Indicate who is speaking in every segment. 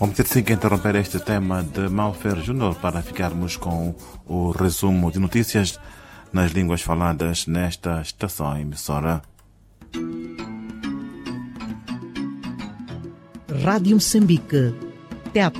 Speaker 1: Vamos ter sim que interromper este tema de Malfer Júnior para ficarmos com o resumo de notícias nas línguas faladas nesta estação emissora.
Speaker 2: Rádio Moçambique, TET.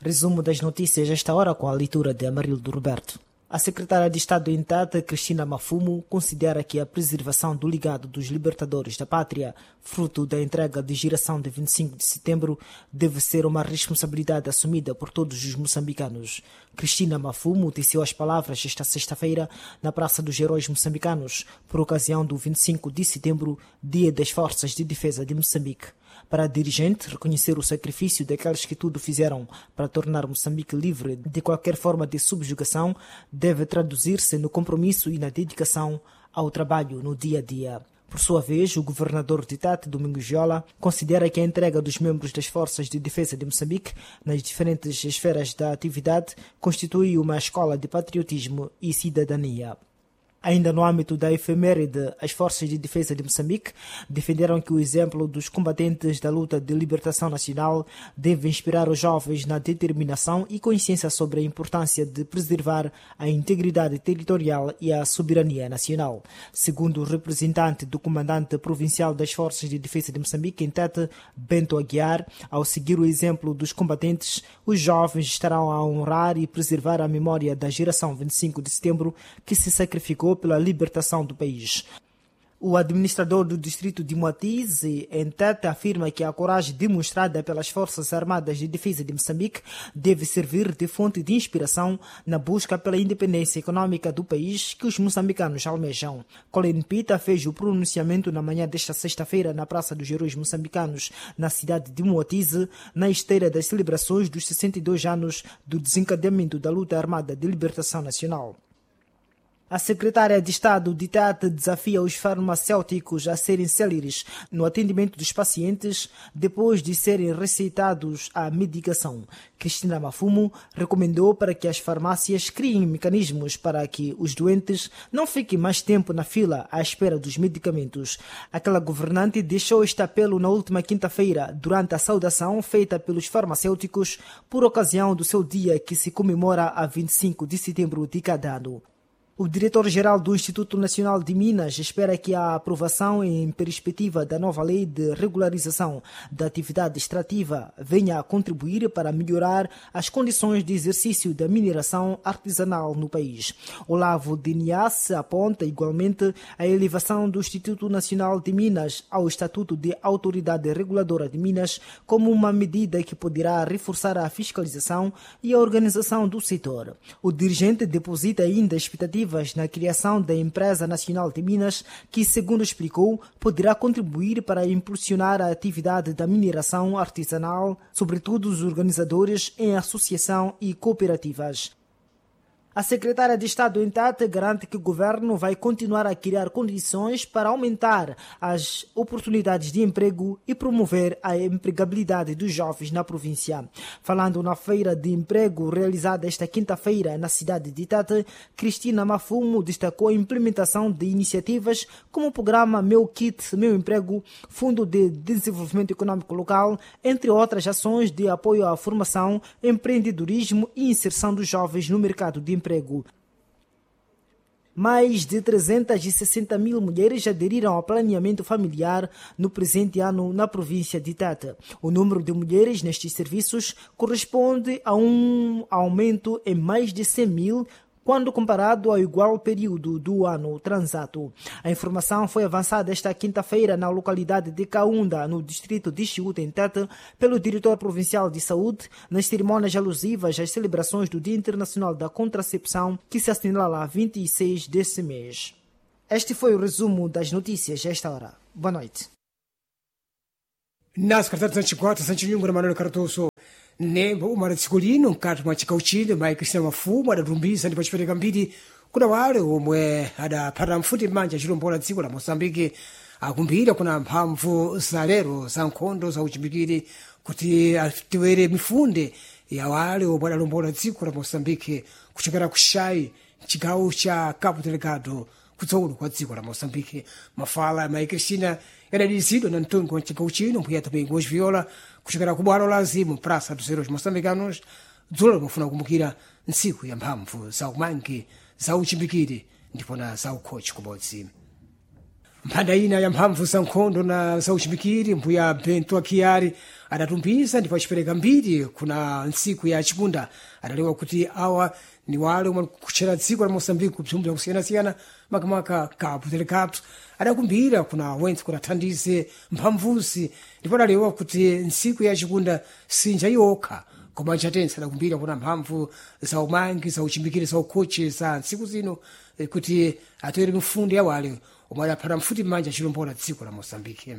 Speaker 3: Resumo das notícias esta hora com a leitura de Amarildo Roberto. A secretária de Estado em Tata, Cristina Mafumo, considera que a preservação do legado dos libertadores da pátria, fruto da entrega de geração de 25 de setembro, deve ser uma responsabilidade assumida por todos os moçambicanos. Cristina Mafumo teceu as palavras esta sexta-feira na Praça dos Heróis Moçambicanos, por ocasião do 25 de setembro, Dia das Forças de Defesa de Moçambique. Para a dirigente, reconhecer o sacrifício daqueles que tudo fizeram para tornar Moçambique livre de qualquer forma de subjugação deve traduzir-se no compromisso e na dedicação ao trabalho no dia a dia. Por sua vez, o governador de Tete, Domingos Giola, considera que a entrega dos membros das Forças de Defesa de Moçambique nas diferentes esferas da atividade constitui uma escola de patriotismo e cidadania. Ainda no âmbito da efeméride, as Forças de Defesa de Moçambique defenderam que o exemplo dos combatentes da luta de libertação nacional deve inspirar os jovens na determinação e consciência sobre a importância de preservar a integridade territorial e a soberania nacional. Segundo o representante do comandante provincial das Forças de Defesa de Moçambique, em Tete, Bento Aguiar, ao seguir o exemplo dos combatentes, os jovens estarão a honrar e preservar a memória da geração 25 de setembro que se sacrificou pela libertação do país. O administrador do distrito de Moatize, em Tete, afirma que a coragem demonstrada pelas Forças Armadas de Defesa de Moçambique deve servir de fonte de inspiração na busca pela independência econômica do país que os moçambicanos almejam. Colin Pita fez o pronunciamento na manhã desta sexta-feira na Praça dos Heróis Moçambicanos, na cidade de Moatize, na esteira das celebrações dos 62 anos do desencadeamento da luta armada de libertação nacional. A secretária de Estado de Tete desafia os farmacêuticos a serem céleres no atendimento dos pacientes depois de serem receitados a medicação. Cristina Mafumo recomendou para que as farmácias criem mecanismos para que os doentes não fiquem mais tempo na fila à espera dos medicamentos. Aquela governante deixou este apelo na última quinta-feira, durante a saudação feita pelos farmacêuticos por ocasião do seu dia que se comemora a 25 de setembro de cada ano. O diretor-geral do Instituto Nacional de Minas espera que a aprovação em perspectiva da nova lei de regularização da atividade extrativa venha a contribuir para melhorar as condições de exercício da mineração artesanal no país. Olavo Dinias aponta igualmente a elevação do Instituto Nacional de Minas ao Estatuto de Autoridade Reguladora de Minas como uma medida que poderá reforçar a fiscalização e a organização do setor. O dirigente deposita ainda expectativas na criação da Empresa Nacional de Minas, que, segundo explicou, poderá contribuir para impulsionar a atividade da mineração artesanal, sobretudo os organizadores em associação e cooperativas. A secretária de Estado em Tete garante que o governo vai continuar a criar condições para aumentar as oportunidades de emprego e promover a empregabilidade dos jovens na província. Falando na feira de emprego realizada esta quinta-feira na cidade de Tete, Cristina Mafumo destacou a implementação de iniciativas como o programa Meu Kit, Meu Emprego, Fundo de Desenvolvimento Econômico Local, entre outras ações de apoio à formação, empreendedorismo e inserção dos jovens no mercado de emprego. Mais de 360 mil mulheres aderiram ao planeamento familiar no presente ano na província de Tete. O número de mulheres nestes serviços corresponde a um aumento em mais de 100 mil quando comparado ao igual período do ano transato. A informação foi avançada esta quinta-feira na localidade de Kaunda, no distrito de Chiúta, em Tete, pelo diretor provincial de saúde, nas cerimônias alusivas às celebrações do Dia Internacional da Contracepção, que se assinala a 26 deste mês. Este foi o resumo das notícias a esta hora. Boa noite.
Speaker 4: Na secretária de Sanchikwata, Sanchinyungu na Manuel Cardoso, nembo umala tsiku lino mkati mwa chigawo chino mayi Cristina Mafumo adatumbisa ndipo achipereka mbiri kuna wale omwe adaphata mfuti m'manja achilombola dziko la Moçambique akumbira kuna mphamvu za lero za nkhondo za uchimbikiri kuti atiwere mifunde ya wale omwe adalombola dziko la Moçambique kuchokera ku Xai chigawo cha Cabo Delgado. kutsogolo kwa dziko la Moçambique. Mafala ya Mayi Cristina yadadizidwa na mtungi wa mchigawo chino Mbuya Domingos Viola kuchokera ku bwalo la azimu Praça dos Heróis Moçambicanos dzulo limafuna kukumbukira ntsiku ya mphamvu za umangi za uchimbikiri ndipo na za ukhochi kubodzi. Mphanda ina ya mphamvu za nkhondo na za uchimbikiri Mbuya Bento Akiari adatumbiza ndipo acipereka mbiri kuna ntsiku ya chikunda. Adalewa kuti awa ni wale omwe kutchera dziko la Moçambique kubzumbu bzakusiyanasiyana makamaka Cabo Delgado. Adakumbira kuna wentse kuti athandize mphamvuzi ndipo adalewa kuti ntsiku ya chikunda sinja yokha koma nchatense. Adakumbira kuna mphamvu za umangi za uchimbikiri za ukhochi za ntsiku zino kuti atoere mifundo ya wale omwe adaphata mfuti m'manja achilombola dziko la Moçambique.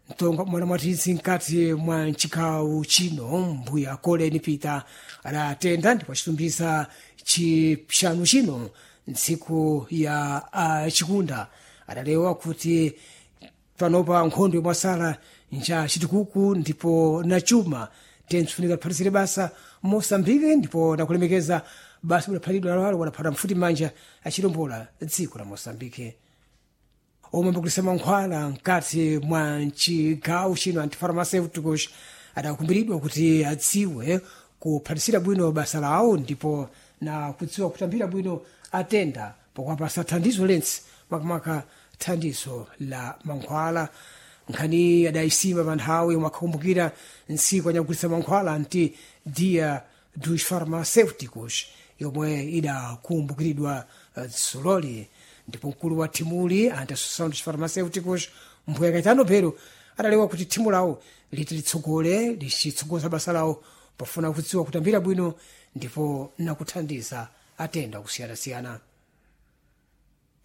Speaker 4: Mtonga mwana mwatidzi mkati mwa mchigawo chino Mbuya Colin Peter adatenda ndipo achitumbiza chipsanu chino ntsiku ya chikunda. Adalewa kuti panopa nkhondo yomwe asala nja chitukuku ndipo na chuma tensifunika tiphatisire basa Moçambique ndipo nakulemekeza basa budaphatidwa lawalo wadaphata mfuti m'manja achilombola dziko la Moçambique. Omwe ambagulisa mankhwala mkati mwa mchigawo chino antifarmaceuticos adakumbiridwa kuti adziwe kuphatisira bwino basa lawo ndipo na kudziwa kutambira bwino atenda pokuwapasa thandizo lentse makamaka thandizo la mankhwala. Nkhani adayisima pa nthawi yomwe akhakumbukira ntsiku anyagulitsa mankhwala anti Dia dos Farmacêuticos yomwe idakumbukiridwa dzuloli. Ndipo mkulu wa thimuli anti Associação dos Farmacêuticos Mbuya Caetano Belo adalewa kuti thimu lawo liti litsogole lichitsogoza basa lawo pofuna kudziwa kutambira bwino ndipo nakuthandiza atenda kusiyanasiyana.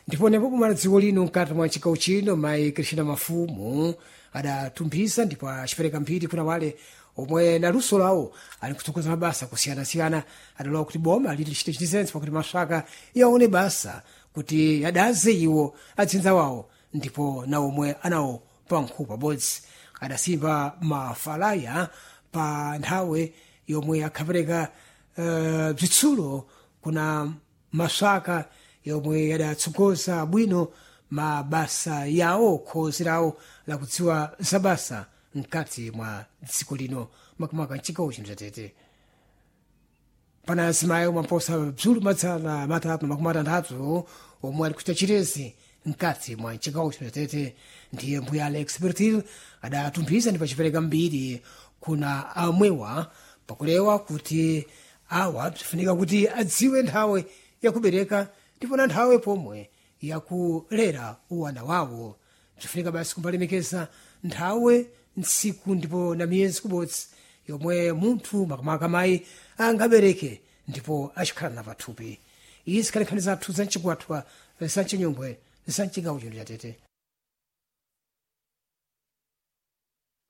Speaker 4: Ndipo nepo kumala dziko lino mkati mwa chigawo chino Mayi Cristina Mafumu adatumbiza ndipo acipereka mphiri kuna wale omwe na luso lawo ali kutsogoza mabasa kusiyanasiyana. Adalowa kuti boma liti lichite chitizenso pakuti maswaka yaone basa kuti adaze iwo adzinza wawo ndipo na omwe anawo pankhupa pabodzi. Adasimba mafalaya pa nthawi yomwe akhapereka bzitsulo kuna maswaka yomwe yadatsogoza bwino mabasa yawo khozi lawo lakudziwa za basa mkati mwa dziko lino makamaka mchigawo chino chatete. Pana azimayi omwe amposa bzulu madzana matatu makumi atanthatu omwe ali kuchita chirezi mkati mwa mchigawo chino chatete ndiye Mbuya Alex Bertil adatumphiza ndipo acipereka mbiri kuna amwewa pakulewa kuti awa bzifunika kuti adziwe nthawi yakubereka ndipo na nthawi pomwe yakulera uwana wawo. Bzifunika basi kumbalemekeza nthawi ntsiku ndipo na miyezi kubodzi yomwe munthu makamaka mayi angabereke ndipo achikhala na pathupi. Izi khali nkhani zathu za mchikwatwa za mchinyungwe za mchigawo chino chatete.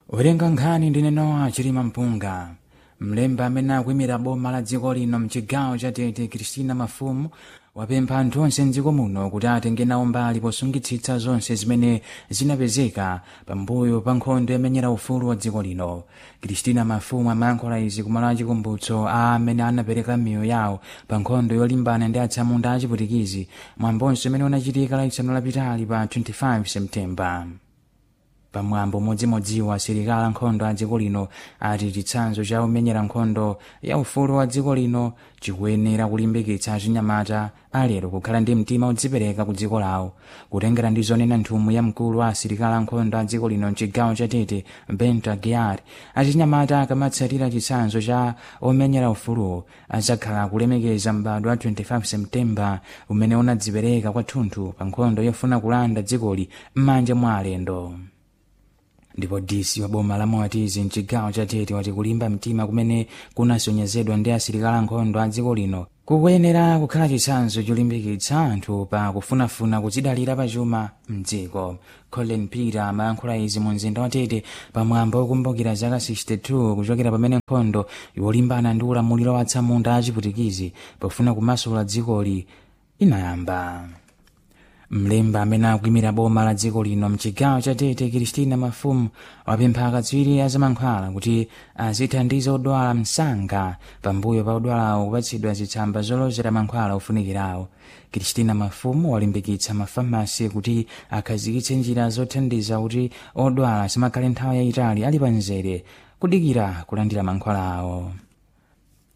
Speaker 5: Werenga nkhani ndine Nowa Chilima Mpunga. Mlembi amene akuyimira boma la dziko lino mchigawo cha Tete, Christina Mafumu, wapempha anthu onse mdziko muno kuti atenge nawo mbali posungitsitsa zonse zimene zinapezeka pambuyo pa nkhondo yomenyera ufulu wa dziko lino. Christina Mafumu amayankhula izi kumalo achikumbutso a amene anapereka miyoyo yawo pa nkhondo yolimbana ndi atsamunda achiputikizi, mwambonso umene unachitika lachisanu lapitali pa 25 Septemba. Pamwambo modzimodziwo, asilikali ankhondo a dziko lino ati chitsanzo cha omenyera nkhondo ya ufulu wa dziko lino chikuyenera kulimbikitsa achinyamata alero kukhala ndi mtima odzipereka ku dziko lawo. Kutengera ndi zonena nthumwi ya mkulu wa asilikali ankhondo a dziko lino mchigawo cha Tete, Bento Aguiar, achinyamata akamatsatira chitsanzo cha omenyera ufuluwo adzakhala kulemekeza m'badwo wa 25 Septemba umene unadzipereka kwathunthu pa nkhondo yofuna kulanda dzikoli m'manja mwa alendo. Ndipo DC wa boma la Moatizi mchigawo cha Tete wati kulimba mtima kumene kunasonyezedwa ndi asilikali ankhondo a dziko lino kukuyenera kukhala chitsanzo cholimbikitsa anthu pa kufunafuna kudzidalira pachuma mdziko. Colin Peter amayankhula izi mu mzinda wa Tete pamwambo wokumbukira zaka 62 kuchokera pamene nkhondo yolimbana ndi ulamuliro wa atsamunda achiputikizi pofuna kumasula dzikoli inayamba. Mlembi amene akuimira boma la dziko lino mchigawo cha Tete, Kristina Mafumu, wapempha akatswiri a zamankhwala kuti azithandiza odwala msanga pambuyo pa odwalawo kupatsidwa zitsamba zolozera mankhwala ofunikirawo. Kristina Mafumu walimbikitsa mafamasi kuti akhazikitse njira zothandiza kuti odwala asamakhale nthawi yayitali ali pamzere kudikira kulandira mankhwala awo.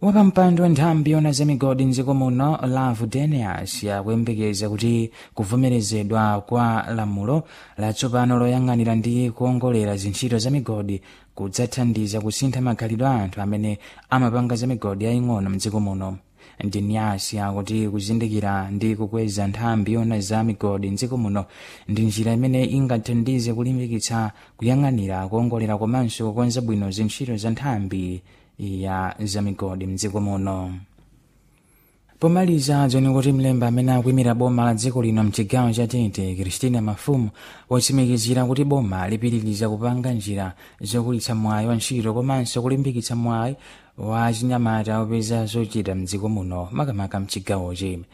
Speaker 5: Wapampando wa nthambi yona za migodi mdziko muno, Lavu Denias, akuyembekeza kuti kuvomerezedwa kwa lamulo latsopano loyang'anira ndi kuongolera zintchito za migodi kudzathandiza kusintha makhalidwe a anthu amene amapanga za migodi yaying'ono mdziko muno. Denias akuti kuzindikira ndi kukweza nthambi yona za migodi mdziko muno ndi njira imene ingathandize kulimbikitsa kuyang'anira, kuongolera komanso kukonza bwino zintchito za nthambi ya zamigodi mdziko muno. Pomaliza, dzoni kuti mlembi amene akuimira boma la dziko lino mchigawo cha Tete, Kristina Mafumu, watsimikizira kuti boma lipitiriza kupanga njira zokulitsa mwayi wa ntchito komanso kulimbikitsa mwayi wa chinyamata opeza zochita mdziko muno, makamaka mchigawochi.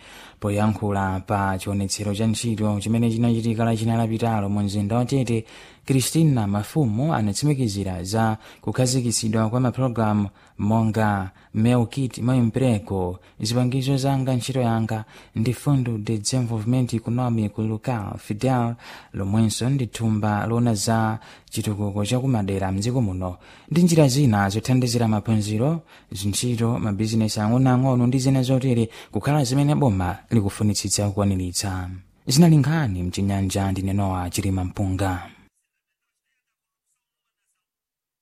Speaker 5: Poyankhula pa chionetsero cha ntchito chimene chinachitika lachinayi lapitalo mu mzinda wa Tete, Kristina Mafumu anatsimikizira za kukhazikitsidwa kwa mapulogalamu monga Meu Kit Meu Emprego, Zipangizo Zanga Ntchito Yanga, ndi Fundo de Desenvolvimento Econômico Local Fidel, lomwenso ndi thumba lona za chitukuko chakumadera mdziko muno, ndi njira zina zothandizira maphunziro, zintchito, mabizinesi ang'onoang'ono ndi zina zotere kukhala zimene boma likufunitsitsa kukwaniritsa. Zinali nkhani mchinyanja, ndinenowa Chilima Mpunga.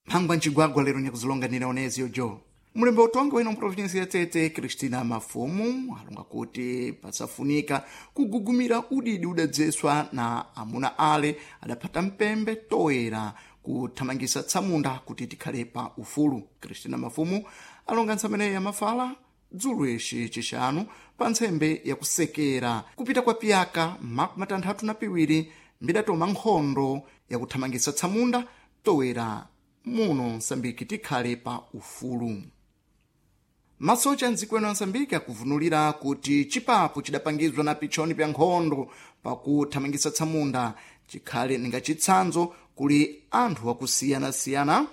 Speaker 6: Mphangwa mcigwagwa lero nyakuzilonganira oneziyo jo mulembe utongi wino mprovinsi ya Tete, Kristina Mafumu, alonga kuti pasafunika kugugumira udidi udadzeswa na amuna ale adaphata mpembe toyera kuthamangisa tsamunda kuti tikhale pa ufulu. Kristina Mafumu alonga ntsamene yamafala dzulo ixi chixanu pa ntsembe yakusekera kupita kwa piyaka 62 mbidatoma nkhondo yakuthamangisa tsamunda toyera muno Msambiki tikhale pa ufulu. Masocha mdziko eno a Msambiki akuvunulira kuti chipapu chidapangizwa na pichoni pya nkhondo pakuthamangisa tsamunda chikhale ninga chitsanzo kuli anthu akusiyanasiyana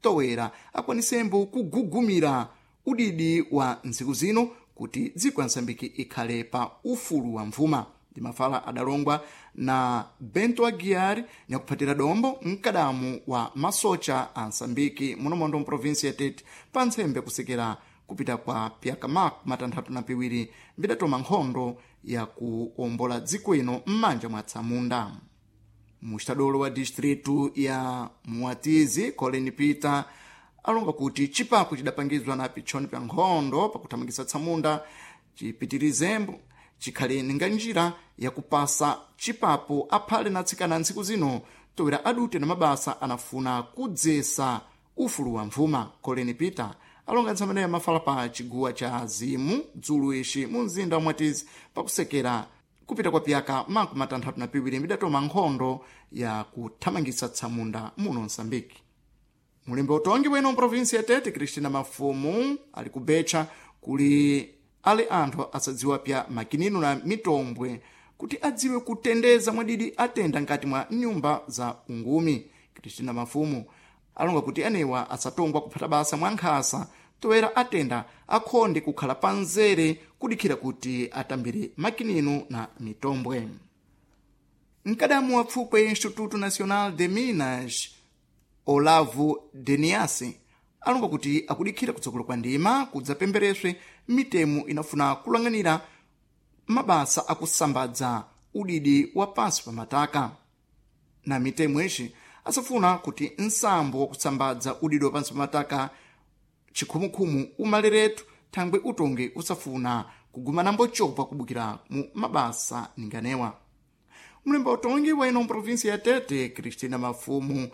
Speaker 6: towera akwanisembo kugugumira udidi wa ntsiku zino kuti dziko ya Msambiki ikhale pa ufulu wa mvuma. Ndi mafala adalongwa na Bento Aguiar nyakuphatira dombo mkadamu wa masocha a Msambiki munomondo mprovinsi ya Tete pa ntsembe kusekera kupita kwa pyaka 62 mbidatoma nkhondo yakuombola dziko ino m'manja mwa tsamunda. Mustadolo wa distritu ya Muatizi, Colin Peter, alonga kuti chipapu chidapangizwa na pichoni pya nkhondo pakuthamangisa tsamunda chipitirizembo chikhale ninga njira yakupasa chipapo aphale na atsikana ntsiku zino towera adute na mabasa anafuna kudzesa ufulu wa mvuma. Colin Peter alonga ntsamene mafala pa chiguwa cha Zimu dzulo ixi mu mzinda wa Mwatizi pakusekera kupita kwa pyaka 62 mbidatoma nkhondo ya kuthamangisa tsamunda muno Msambiki. Mulembe utongi weno mprovinsi ya Tete, Kristina Mafumu, ali kubetcha kuli ale anthu asadziwa pya makinino na mitombwe kuti adziwe kutendeza mwadidi atenda nkati mwa nyumba za ungumi. Kristina Mafumu alonga kuti anewa asatongwa kuphata basa mwa nkhasa toera atenda akhonde kukhala panzere kudikhira kuti atambire makinino na mitombwe. Mkadamu wa pfukwe Instituto Nacional de Minas, Olavo Deniasi, alonga kuti akudikhira kutsogolo kwa ndima kudzapembereswe mitemo inafuna kulang'anira mabasa akusambadza udidi wa pansi pa mataka. Na mitemo ixi asafuna kuti nsambo wakusambadza udidi wa pansi pa mataka chikhumukhumu umaleretu thangwe utongi usafuna kugumana mbochopa kubukira mu mabasa ninganewa. Mlemba utongi wa ino mprovinsi ya Tete, Kristina Mafumu,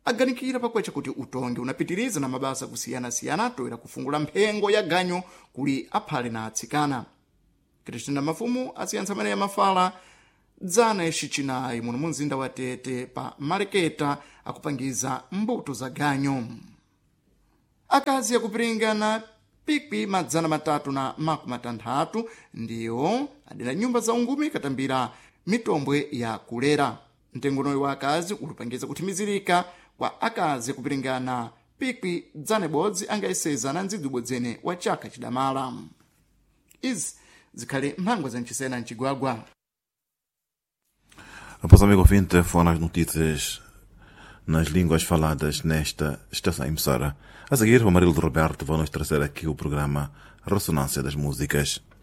Speaker 6: aganikira pakwecha kuti utongi unapitiriza na mabasa kusiyanasiyana toera kufungula mphengo ya ganyo kuli aphale na atsikana. Kristina Mafumu asiyantsa amene yamafala dzana ixi muno mu mzinda wa Tete pa maleketa akupangiza mbuto za ganyo. Akazi akupiringana pikwi 360 ndiwo adera nyumba za ungumi katambira mitombwe ya kulera. Mtengonoyi wa akazi ulipangiza kuthimizirika kwa akazi kupiringana pikwi dzana ibodzi angayeseza na ndzidzi ubodzene wa chaka chidamala. Izi zikhali mphangwa za mchisena mcigwagwa.
Speaker 1: Após, amigo ouvinte, foram as notícias nas línguas faladas nesta estação emissora. A seguir, o Amarildo Roberto vai nos trazer aqui o programa Ressonância das Músicas.